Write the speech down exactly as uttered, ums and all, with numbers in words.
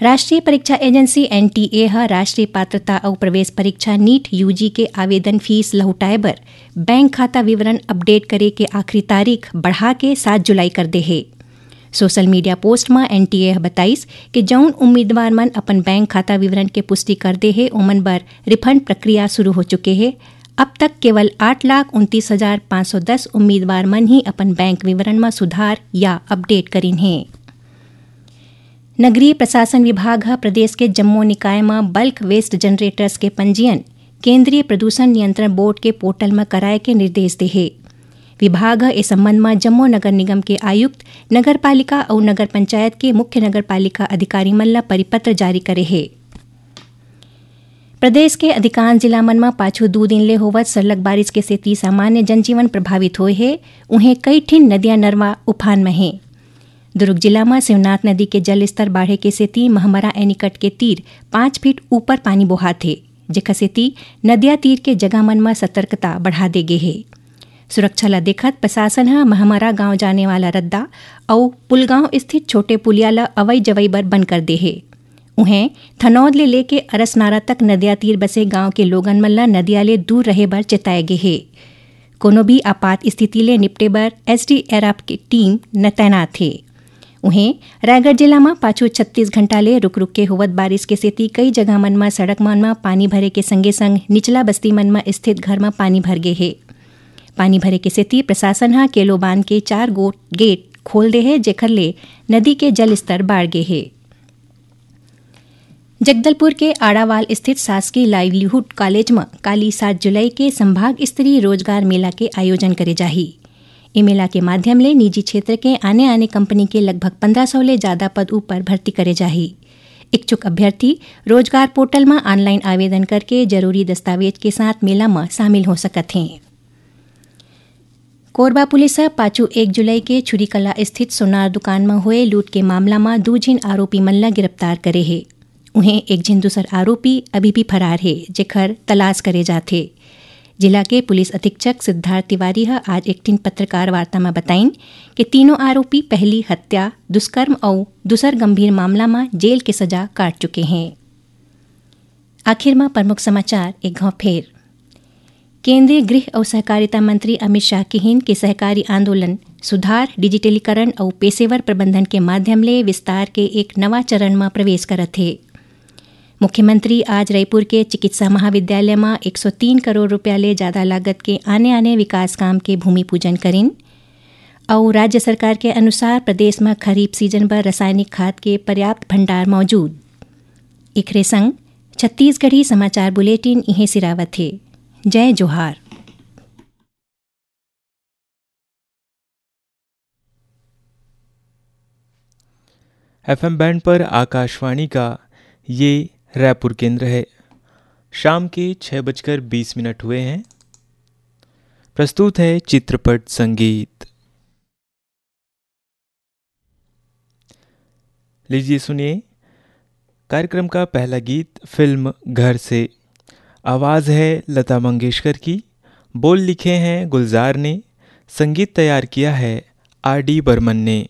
राष्ट्रीय परीक्षा agency, NTA, ह राष्ट्रीय पात्रता अउ प्रवेश परीक्षा, नीट, यूजी के आवेदन फीस लहुटाए बर बैंक खाता विवरण अपडेट करे के आखिरी तारीख बढ़ा के सात जुलाई कर दे हे। सोशल मीडिया पोस्ट म एनटीए ह बताइस कि जउन उम्मीदवार मन अपन बैंक खाता विवरण के पुष्टि कर दे हे, ओमन बर रिफंड प्रक्रिया शुरू हो चुके हे। अब तक केवल आठ लाख उनतीस हजार पाँच सौ दस उम्मीदवार मन ही अपन बैंक विवरण म सुधार या अपडेट करिन हे। नगरीय प्रशासन विभाग ह प्रदेश के जम्मो निकाय म बल्क वेस्ट जनरेटर्स के पंजीयन केंद्रीय प्रदूषण नियंत्रण बोर्ड के पोर्टल म कराए के निर्देश दे हे। विभाग ह ए संबंध म जम्मो नगर निगम के आयुक्त, नगर पालिका अउ नगर पंचायत के मुख्य नगर पालिका अधिकारी मन ल परिपत्र जारी करे हे। प्रदेश के अधिकांश जिला मन म पाछू दू दिन ले होवत सरलग बारिश के सेती सामान्य जनजीवन प्रभावित होए हे। उहें, कई ठिन नदिया नरवा उफान म हे। दुर्ग जिला म शिवनाथ नदी के जलस्तर बाढ़े के सेती महमरा एनीकट के तीर पाँच फीट ऊपर पानी बोहात हे, जेखर सेती नदिया तीर के जगह मन म सतर्कता बढ़ा दे गे हे। सुरक्षा ल देखत प्रशासन ह महमरा गांव जाने वाला रद्दा अउ पुलगांव स्थित छोटे पुलिया ल अवई जवई बर बंद कर दे हे। उहें, थनौद ले लेके अरसनारा तक नदिया तीर बसे गांव के लोगन मन ल नदिया ले दूर रहे बर चेताए गे हे। कोनो भी आपात स्थिति ले निपटे बर एसडीआरएफ के टीम न तैनात हे। उहें, रायगढ़ जिला म पाछू छत्तीस घंटा ले रुक रुक के होवत बारिश के सेती कई जगह मन म सड़क मन म पानी भरे के संगे संग निचला बस्ती मन म स्थित घर म पानी भर गे हे। पानी भरे के सेती प्रशासन ह केलो बांध के चार गो गेट खोल दे हे, जेखर ले नदी के जल स्तर बाढ़ गे हे। जगदलपुर के आड़ावाल स्थित शासकीय लाइवलीहुड कॉलेज म काली, सात जुलाई के संभाग स्तरीय रोजगार मेला के आयोजन करे जाही। ए मेला के माध्यम ले निजी क्षेत्र के आने-आने कंपनी के लगभग पन्द्रह सौ ले जादा पद ऊपर भर्ती करे जाही। इच्छुक अभ्यर्थी रोजगार पोर्टल म ऑनलाइन आवेदन करके जरूरी दस्तावेज के साथ मेला म शामिल हो सकत हें। कोरबा पुलिस ह पाछू एक जुलाई के छुरीकला स्थित सोनार दुकान म होए लूट के मामला म दू झिन आरोपी मन ल गिरफ्तार करे हे। उहें, एक झिन दूसर आरोपी अभी भी फरार हे, जेखर तलाश करे जाथे। जिला के पुलिस अधीक्षक सिद्धार्थ तिवारी ह आज एक ठिन पत्रकार वार्ता म बताइन कि तीनों आरोपी पहली हत्या, दुष्कर्म अउ दूसर गंभीर मामला म जेल के सजा काट चुके हें। आखिर म प्रमुख समाचार एक घाव फेर। केंद्रीय गृह अउ सहकारिता मंत्री अमित शाह किहिन कि सहकारी आंदोलन, सुधार, डिजिटलीकरण अउ पेशेवर प्रबंधन के माध्यम ले विस्तार के एक नवा चरण म प्रवेश करत हे। मुख्यमंत्री आज रईपुर के चिकित्सा महाविद्यालय म एक सौ तीन करोड़ रुपया ले जादा लागत के आने-आने विकास काम के भूमि पूजन करिन। अउ राज्य सरकार के अनुसार प्रदेश म खरीफ सीजन बर रासायनिक खाद के पर्याप्त भंडार मौजूद। एखरे संग छत्तीसगढ़ी समाचार बुलेटिन इहें सिरावत हे। जय जोहार। एफएम बैंड पर आकाशवाणी का ये रायपुर केंद्र है। शाम के छः बजकर बीस मिनट हुए हैं। प्रस्तुत है चित्रपट संगीत। लीजिए सुनिए कार्यक्रम का पहला गीत फिल्म घर से। आवाज़ है लता मंगेशकर की, बोल लिखे हैं गुलजार ने, संगीत तैयार किया है आर डी बर्मन ने।